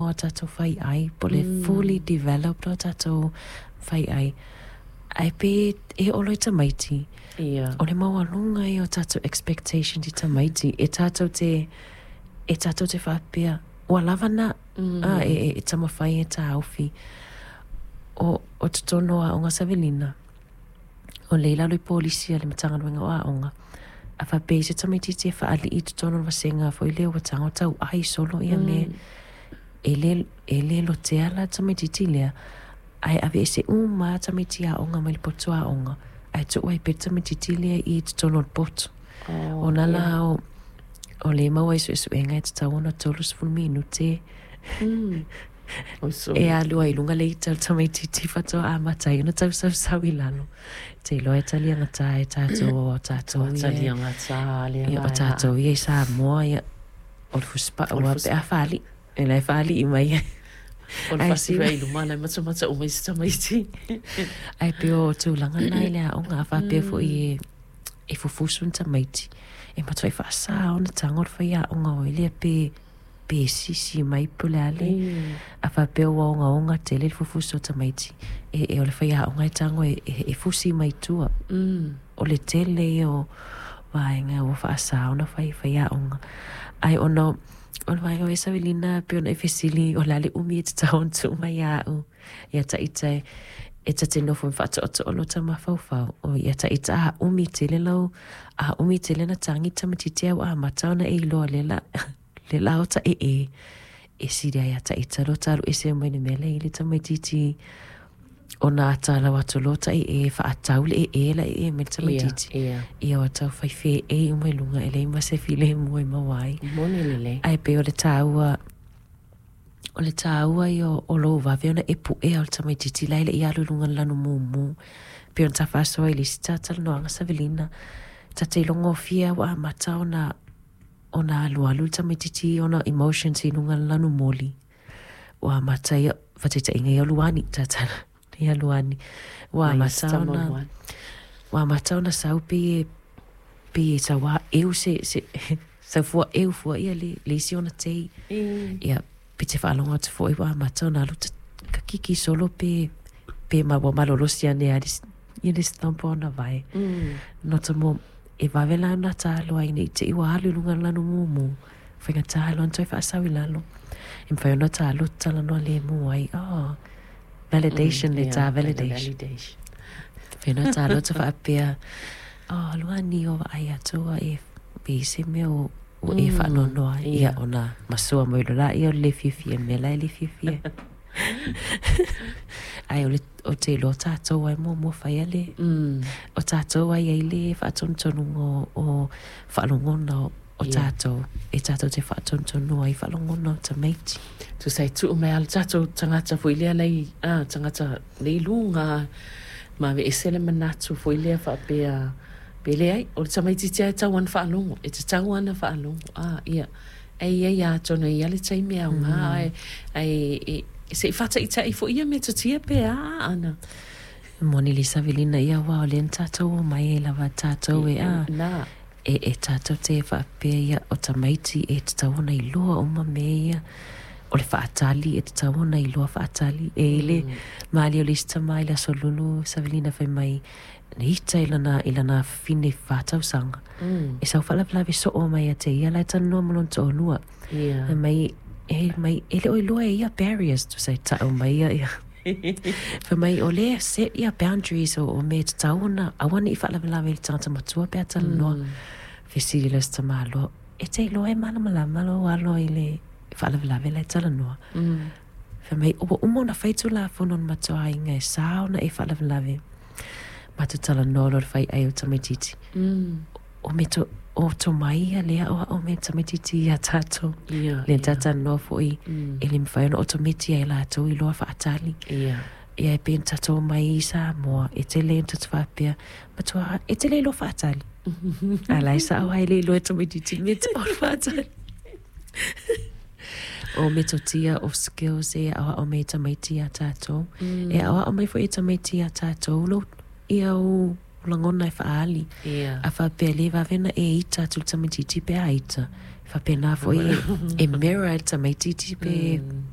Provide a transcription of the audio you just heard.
a tatou faiai, po o le fully developed o tatou faiai. Ae pe e oo loa i tamaiti, o le maualuga ia o tatou expectations i tamaiti, e tatou te faapea, ua lava na, e taumafai e taofi. O totonu o aoga, Savelina, o lea i lalo i polisi a le Matagaluega o Aoga, a faapea i se tamaititi e faalii i totonu o le vasega foi lea ua tago tauai solo ia mea, e le lotea la tamaititi lea, ae ave ese uma lava tamaiti aoga mai le potu aoga, ae tuu ai pea le tamaititi lea i totonu o le potu. Ona la o le maua ai suesuega e tatau ona 30 minute e alu ai i luga le ita o le tamaititi faatoa amata ai ona tausausau i lalo. Te iloa e taliagata e tatou o tatou ia. Taliagata lea. Ia, o tatou ia i Samoa, ia, o le fusipau a pe a faalii. E la e faalii mai ai. O le fasi i luma lai matamata uma i se tamaiti. Ae pei o tulaga na i le aoga, a faapea foi e fufusu ni tamaiti. E matuai faasa ona tago le faiaoga o lea pe sisi mai po o le a le. A faapea ua ogaoga tele le fufusu o tamaiti, e o le faiaoga e tago e fusi mai tua. O le tele ia o vaega ua faasa ona fai faiaoga. Ae ona o le vaega o e, Savelina, pe ona e fesili o le a le umi e tatau ona tuu mai ia au ia taita e tate nofo ma faatoatoa lo mafaufau o ia taita a umi tele lau a umi tele na tagi tamaititi au amata ona e iloa le la o ta e sili ai ia taita lo talu ese mai le mea le i le tamaititi ona atalau atu lo ta e faatau le e la e me le tamaititi. Ia o tau fai fe e uma i luga e le ma se file mo e maua ai. Moni lelei. Ae pei o le taua ia o lou vave ona e puea o le tamaititi la e le i alu i luga le lanu mumu. Pei ona tafaasoa i le isi talanoaga, Savelina, ta te ilogofie ua amata ona alualu le tamaititi ona emotions i luga le lanu moli. Ua amata ia, faataitaiga ia luani, tatala, ia luani. Ua amata ona, ua amata ona sau pe e sauā eu se saufua eu fua ia le isi ona tei. Ia, pe te faalogo atu foi ua amata ona alu kakiki solo pe ma ua malolosi ane a ia le stampa ona vae. No ta mo e vave la ona talo ai nei te i ua alu i luga le lanu mumu. Faigata loa ona toe faasau i lalo. E mawhai ona talo talanoa le mu ai. Oh, validation le ta validation. Validation. Whenua talo ta whaapea, oh, luani o ai atua e pe se mea o e whaanonoa. Ia ona masua mai lo la ia o le fiafia mea la e le fiafia. Ai o le o te iloa tatou ai muamua fai le o tatou ai ai le faatonutonu o faalogona o tatou e tatou te faatonutonu ai faalogona o tamaiti. Tusa e tuu mai a le tatou tagata foi lea lai tagata le i luga ma aveese le manatu foi lea faapea pe leai o le tamaititi ae tau ana faalogo e tatau ana faalogo ia e ia ia atonu e ia le taimi aoga ae se'i faataʻitaʻi foi ia metotia pe a ana. Moni le, Savelina, ia ua o lea na tatou o mai ai lava tatou e a na e tatou te faapea ia o tamaiti e tatau ona iloa uma mea ia o le faatali e tatau ona iloa faatali e i le mali o le isi tama i le aso lulu, Savelina, fai mai na ita i lana fine 4 tausaga e sau faalavelave soo mai ia te ia la e talanoa ma lona toalua. Fai mai e mai e le o iloa e ia barriers tusa e taʻu mai ia ia fai mai o lea set ia boundaries o mea e tatau ona aua ne i faalavelave i le tagata matua pe a talanoa. Fesili loa se tamāloa, e te iloa e malamalama lou alo i le faalavelave la e talanoa. Fai mai ua uma ona fai tulafono na matuaiga e sa ona e faalavelave. Matou talanoa loa le fai ai o tamaititi. O me to o tomai ia lea o ao me tamaititi ia tatou. Le talanoa foi e le mawhai ona otometi ai latou i loa faatali. Ia e pe na tatou mai i Samoa, e te le na tatou faapea, matua, e te le iloa faatali. A la e sao ai le iloa e tamaititi me te o le faatali. O metotia o skills e aoao mai e tamaiti ia tatou. E aoao mai foi e tamaiti ia tatou lo ia o lagona e faaali. A faapea le vave na e ita atu le tamaititi pe a ita. Faapena foi e mirror e le tamaititi pe.